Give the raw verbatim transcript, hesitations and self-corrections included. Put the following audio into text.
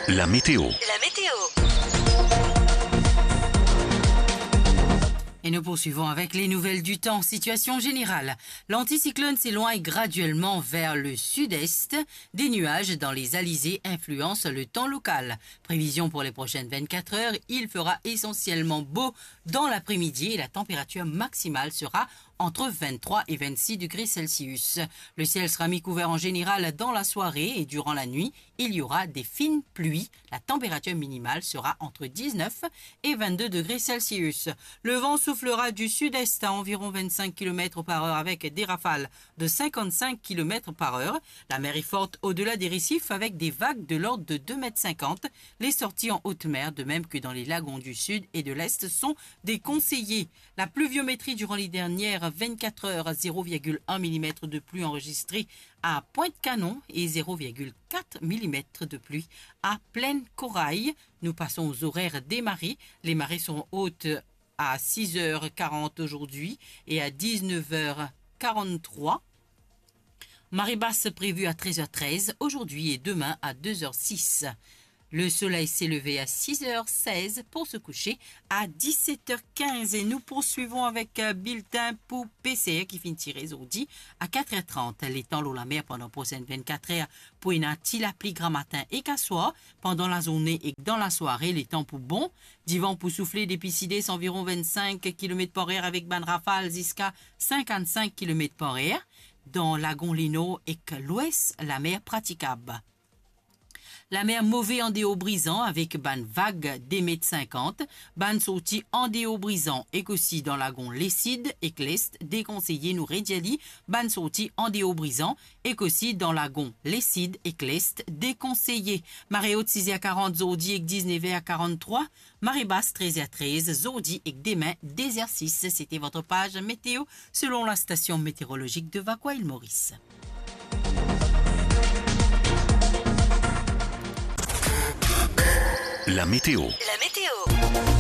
La météo. La météo. Et nous poursuivons avec les nouvelles du temps. Situation générale. L'anticyclone s'éloigne graduellement vers le sud-est. Des nuages dans les alizés influencent le temps local. Prévision pour les prochaines vingt-quatre heures, il fera essentiellement beau dans l'après-midi et la température maximale sera entre vingt-trois et vingt-six degrés Celsius. Le ciel sera mi-couvert en général dans la soirée et durant la nuit, il y aura des fines pluies. La température minimale sera entre dix-neuf et vingt-deux degrés Celsius. Le vent soufflera du sud-est à environ vingt-cinq kilomètres par heure avec des rafales de cinquante-cinq kilomètres par heure. La mer est forte au-delà des récifs avec des vagues de l'ordre de deux mètres cinquante. Les sorties en haute mer, de même que dans les lagons du sud et de l'est, sont déconseillées. La pluviométrie durant les dernières vingt-quatre heures, zéro virgule un millimètre de pluie enregistrée à Pointe-Canon et zéro virgule quatre millimètre de pluie à Plaine Corail. Nous passons aux horaires des marées. Les marées seront hautes à six heures quarante aujourd'hui et à dix-neuf heures quarante-trois. Marée basse prévue à treize heures treize aujourd'hui et demain à deux heures six. Le soleil s'est levé à six heures seize pour se coucher à dix-sept heures quinze. Et nous poursuivons avec, euh, bulletin pour P C R ki finn tire zordi à quatre heures trente. Letan lor lamer pandan prosenn vingt-quatre heures pou ena ti lapli gramatin ek aswar. Pandan lazourne ek dan lasware, letan pou bon. Divan pou soufle depi sides anviron vingt-cinq kilomètres par heure avek bann rafal ziska cinquante-cinq kilomètres par heure. Dan lagon Lenor ek lwes, lamer pratikab. Lamer move andeor Brizan avek bann vag de met sinkant. Bann sorti andeor Brizan ek osi dan lagon Lesid ek Lest dekonseye. Nou redir li, bann sorti andeor Brizan ek osi dan lagon Lesid ek Lest dekonseye. Mare ot siz er karant zordi ek diz-nev er karant-trwa. Mare bas trez er trez zordi ek demin de zer sis. C'était votre page météo selon la station météorologique de Vacoas Île Maurice. La météo. La météo.